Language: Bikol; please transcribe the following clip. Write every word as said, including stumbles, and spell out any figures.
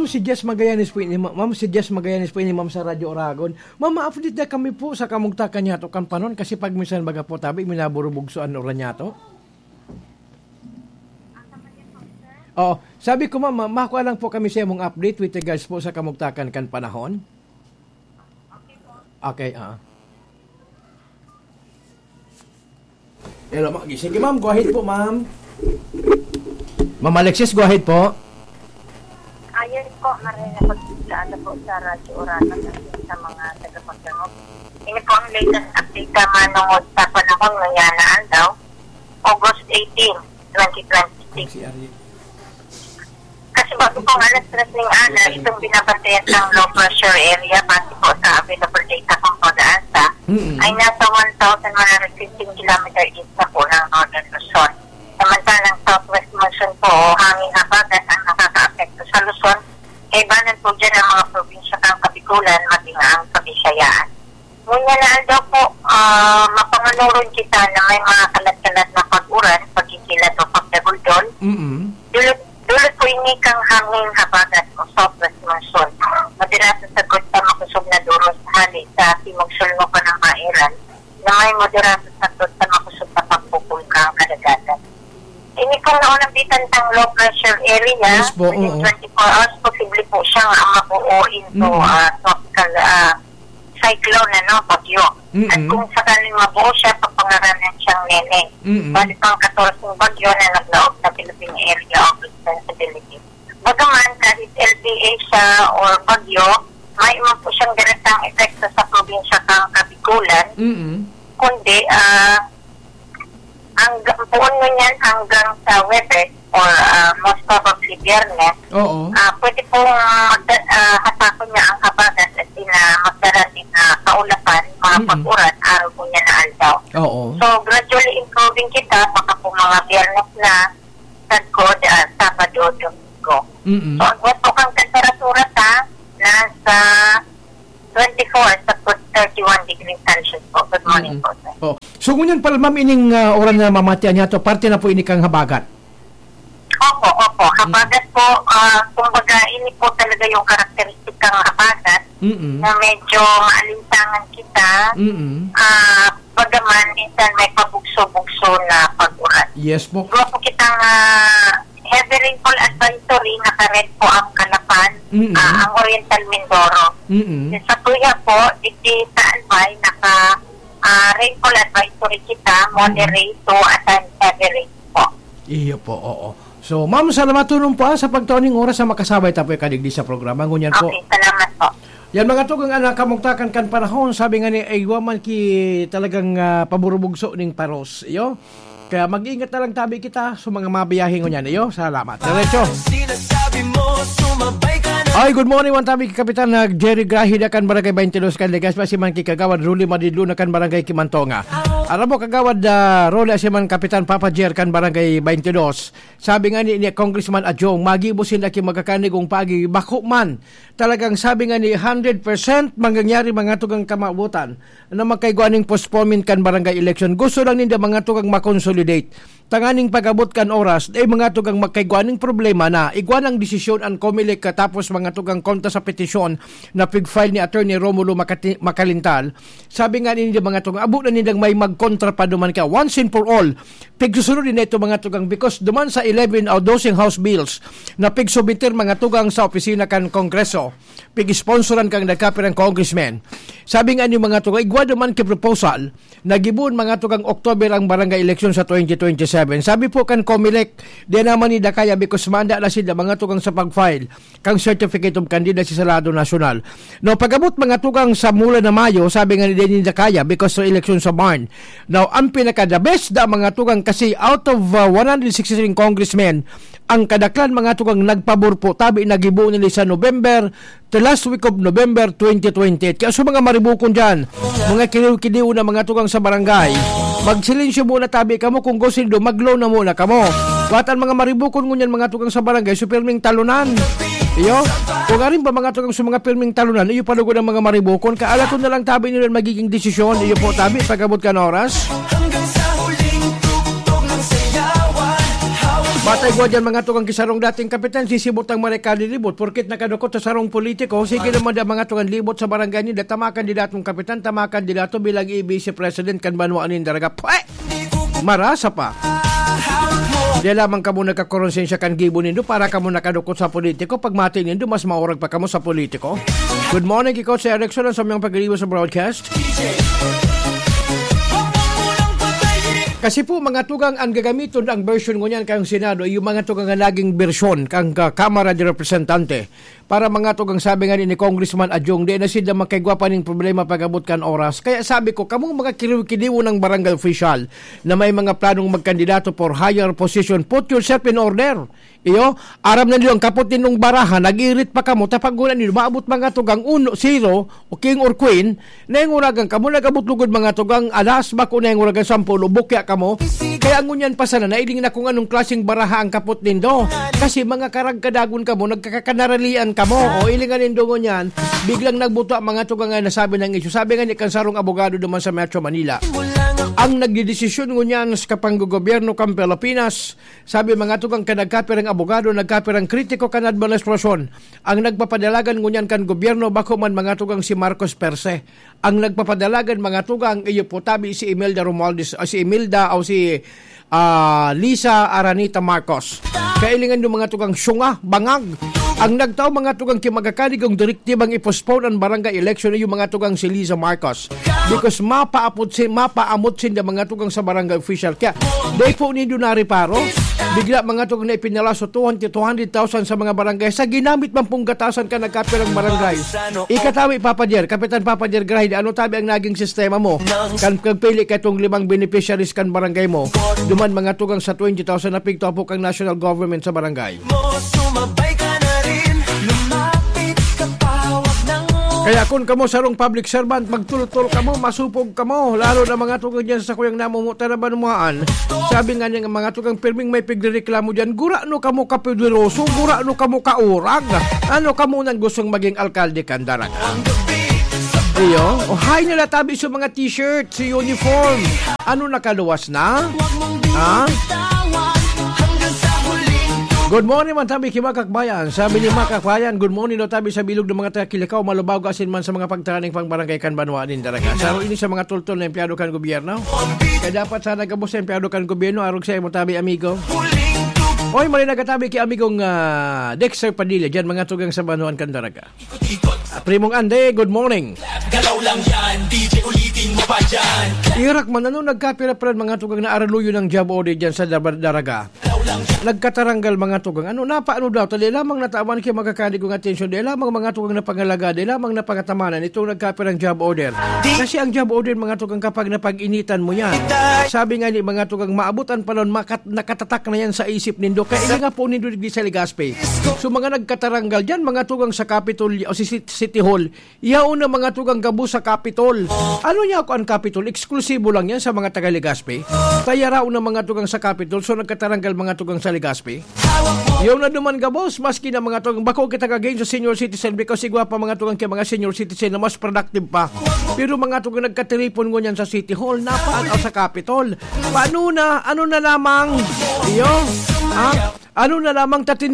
Si Jess Magallanes po ini, ma-, ma'am, si Jess Magallanes po ini, ma'am, sa Radyo Oragon. Ma'am, ma-update na kami po sa kamugtakan niyato kan panahon kasi pag minsan baga po tabi, minaburubugso an uran niyato. Oo. Sabi ko, ma'am, ma-, makuha lang po kami sa imong update with regards po sa kamugtakan kan panahon. Okay, ah. Hello, ma-, sige, ma'am. Go ahead po, ma'am. Ma'am Alexis, go ahead po. Ayun po, maray na pagkita po sa Radyo Oragon at sa mga tagapagdangog. Ini po ang latest update sa manungod sa panahon ngayon na aldaw, August eighteen, twenty twenty-six. Kasi bago pong alas tres ning ana, itong binabantayan ng low pressure area, base po sa available data ng PAGASA, Mm-mm. ay nasa one thousand one hundred fifteen kilometer east na po ng Northern Luzon. Samantalang southwest monsoon po o hangin habagat ang nakakaapekto sa Luzon, kaibanan po dyan ang mga probinsya ng Kabikulan, maging ang Kabisayaan. Ngunyan na aldaw po, ah, mapanganuron kita na may mga kalat-kalat na pag-uran, pagkikilat o pagdagul-dol. Mm-mm. Dulot, dulot po ini kan hangin habagat o southwest monsoon. Moderato sagkod sa makosog na duros hale sa timog-sulngo kan Ambairan, na may moderato sagkod sa makosog na pagpupulkang kadagatan. Ini pong naunambitan tang low pressure area, Yes po, within oo. twenty-four hours, posible po siya nga mabuo into, Mm. ah, tropical, ah, cyclone, ano, bagyo. Mm-mm. At kung sakaling mabuo siya, papangaranan siyang Nene. Mm-mm. Bali pang katorse bagyo na naglaog sa Philippine Area of Responsibility. Bagaman, kahit L P A siya or bagyo, may man po siyang direktang epekto sa probinsya kang Kabikulan, Mm-mm. kundi, ah, hanggang, puon ngunyan hanggang sa Huwebes or, ah, most probably Biyernes, Oo. ah, pwede pong magda-, ah, hatakon niya ang habagat at ina-, magdara nin, ah, kaulapan, mga Mm. pag-uran, araw po niya na aldaw. Oo. So, gradually improving kita, baka po mga Biyernes na, sagkod, ah, Sabado, Domingo. Mm-mm. So, ang buot po kang temperatura ta, nasa twenty-four sa thirty-one degrees Celsius po. Good morning Mm-mm. po, sir. Oh. So, ngunyan pala, ma'am, ining, ah, uran na mamatian niya to, parte na po ini kang habagat? Opo, opo. Mm. Habagat po, ah, kumbaga, ini po talaga yung karakteristik kang habagat Mm-mm. na medyo maalinsangan kita. Mm-mm. Ah, bagaman, minsan may pabugso-bugso na pag-uran. Yes po. Igwa po kitang, ah, heavy rainfall advisory, naka-red po ang Calapan, Mm-mm. ah, ang Oriental Mindoro. Mm-mm. Sa Tuya po, digdi sa Albay, naka, ah, rainfall advisory kita, Mm-mm. moderate to at heavy rain po. Iyo po, oo. So, ma'am, salamat tunon po, ah, sa pagtuon ning oras sa makasabay ta po ikadigdi sa programa. Ngunyan po. Okay, salamat po. Yan, mga tugang, anak, kamugtakan kan panahon, sabi nga ni, ay, wa man ki talagang, ah, paburubugso ning paros, iyo. Kaya mag-ingat na lang tabi kita sa mga mabiyahe ngunyan, iyo. Salamat. Diretso. Ay, good morning, one tabi ki Kapitan na Jerry Grahida kan Barangay twenty-two kan Legazpi, si man ki Kagawad Rolly Madidluna kan Barangay Kimantonga. Aram mo, Kagawad, ah, Rolly, si man Kapitan Papa Jer kan Barangay twenty-two. Sabi nga ni, ni Congressman Adjong, magibo sinda ki magkakanigong pagi, bako man. Talagang sabi nga ni, hundred percent mangyayari mga tugang kamawotan na magkaigwa ning postponement kan barangay election. Gusto lang ninda mga tugang makonsolidate. Tanganing pag-abot kan oras, ay mga tugang magkaigwa ning problema na igwa ng desisyon ang Comelec katapos mga tugang kontra sa petisyon na pig-file ni Attorney Romulo Macati-, Macalintal. Sabi nga ninda mga tugang, abo na nindang may magkontra pa duman ka once and for all. Pigsusunod din na ito mga tugang because duman sa eleven o doseng House Bills na pigsubmiter mga tugang sa opisina kan Kongreso, pig-sponsoran kang nagkapirang congressmen. Sabi nga ni mga tugang, igwa duman ki proposal, nagibuon mga tugang October ang barangay election sa twenty twenty-seven. Sabi po kan Comelec, di naman nila kaya because manda na sila mga tugang sa pag-file kang Certificate of Candidacy sa lado nasyonal. No, pag-abot mga tugang sa mula na Mayo, sabi nga ni Denis Dakaya, because sa eleksyon sa Barn. Now, ang pinaka-the best da mga tugang kasi out of, uh, one hundred sixty-three congressmen, ang kadaklan mga tugang nagpabor po, tabi nagibo nila sa November, the last week of November twenty twenty-eight. Kaya sa mga maribukon dyan, mga kiliw-kiliw na mga tugang sa barangay, magsilensyo muna tabi kamo kung gusto nindo, mag-low na muna kamo. Patan mga maribukon ngunyan mga tugang sa barangay, so pirming talunan. Iyo, kung arin pa mga tugang sa mga pirming talunan, iyo palugod ang mga maribukon, kaalaton na lang tabi nila ang magiging desisyon, iyo po tabi, pag-abot kan oras. Hanggang sa huling tugtog ng sayawan, hawak Batay ko dyan, mga tugang, kisarong dating kapitan, sisibot ang maray kalilibot. Porkit nakadukot sa sarong politiko, sige naman da, mga tugang, libot sa barangay ninda, tama kandidatong kapitan, tama kandidato bilang A B C president kan banwa nin Daraga. Pwe! Marasa pa. Di lamang kamo nagkakoronsensya kan gibo nindo para kamo nakadukot sa politiko. Pag mati nindo, mas maurag pa kamo sa politiko. Good morning, Kiko, si Erickson, ang samyang pag-iiwas sa broadcast. Kasi po, mga tugang, ang gagamiton ang version ngunyan kang Senado, yung mga tugang na naging version kang, ah, Kamara de Representante. Para mga tugang, sabi nga ni Congressman Adjong, di na sila makaigwa pa ning problema pag-abot kan oras. Kaya sabi ko, kamong mga kiriw-kiriwo ng barangay official na may mga planong magkandidato for higher position, put yourself in order. Iyo, aram na niyo ang kapot ninyong baraha, nag-irit pa kamo, tapag ngunyan niyo, maabot mga tugang uno, zero, o king or queen, nainguragan kamo, nag-abot lugod mga tugang alas, bako nainguragan sampulo, bukya kamo. Kaya ngunyan pa sana, nailing na kung anong klaseng baraha ang kapot nindo. Kasi mga karagkadagon kamo, nagkakakanaralian kamo. O ilingan nindo ngunyan, biglang nagbuta mga tugang nga nasabi ng isyu. Sabi nga ni kansarong abogado naman sa Metro Manila, ang nagdidesisyon ngunyan sa kapanggogobyerno kan Pilipinas, sabi mga tugang kan nagkapirang abogado, nagkapirang kritiko kan administrasyon. Ang nagpapadalagan ngunyan kan gobyerno, bako man mga tugang si Marcos per se. Ang nagpapadalagan mga tugang, iyo po tabi si Imelda Romualdez, ah, si Imelda o si, ah, Liza Araneta Marcos. Kailingan yung mga tugang syunga, bangag. Ang nagtao mga tugang ki magakaligong direktibang i-postpone ang barangay election, yung mga tugang si Liza Marcos. Because mapaapot si, mapaamot sinda mga tugang sa barangay official. Kaya, di po nindo nariparo, bigla mga tugang na ipinalaso two hundred, two hundred thousand sa mga barangay. Sa ginamit man pong gatasan ka nagkapirang barangay. Ikatawi, Papa Jer, Kapitan Papa Jer Grahid, ano tabi ang naging sistema mo? Kan pagpili ka itong limang beneficiaries kan barangay mo. Duman mga tugang sa twenty thousand na pigto po kang national government sa barangay. Mo, sumabay ka na rin, lumapit ka pa, wag nang Kaya kun kamo sarong public servant, magtultol kamo, masupog kamo, lalo na mga tugang dyan sa kuyang namumutan na banwaan. Sabi nga niya, mga tugang pirming may pigrereklamo dyan, gura no kamo kapoderoso, gura no kamo kaurag. Ano kamo nang gustong maging alkalde kan Daraga? Iyo, o hay nila tabi sa mga t-shirt, sa uniform. Ano, nakaluwas na? Ha? Good morning man tabi ki Makakbayan. Sabi ni Makakbayan, "Good morning daw tabi sa bilog ng mga taga Kilikao, Malubago, asin man sa mga pagtaraning pang barangay kan banwa nin Daraga." Sa ini sa mga tultol na empleyado kan gobyerno. Kaya dapat sana gabos sa empleyado kan gobyerno, arog sa imo tabi, amigo. Oy, mali nagatabi ki amigong, ah, Dexter Padilla, dyan mga tugang sa banwaan kan Daraga. Ah, Primong Andy, good morning. Galaw lang yan, D J, ulitin mo pa dyan. Irak man, ano, nagkapira-pira mga tugang na araluyo ng job order dyan sa Dar-, Daraga? Galaw lang yan. Nagkataranggal mga tugang. Ano, napaano daw? Tali lamang natawan kay magkakaligong atensyon. Di lamang mga tugang na pangalaga. Di lamang na pangatamanan itong nagkapirang job order. Kasi ang job order, mga tugang, kapag napag-initan mo yan. Sabi nga ni mga tugang, maabot ang panahon, makat-, nakatatak na yan sa isip nindo. Kaya hindi nga po nindo digdi sa Legazpi. So, mga nagkataranggal dyan, mga tugang sa Capitol o si Cit-, City Hall, yaon na mga tugang gabos sa Capitol. Ano niya ako ang Capitol? Eksklusibo lang yan sa mga taga Legazpi. Kaya raon na mga tugang sa Capitol, so nagkataranggal mga tugang sa Legazpi. Yaon na duman gabos, maski na mga tugang bako kita kagayon sa senior citizen, because igwa pa mga tugang kay mga senior citizen na mas productive pa. Pero mga tugang nagkatiripon ngunyan sa City Hall, napaagaw sa Capitol. Paano na? Ano na lamang? Iyo? Ha? Ano na lamang tatin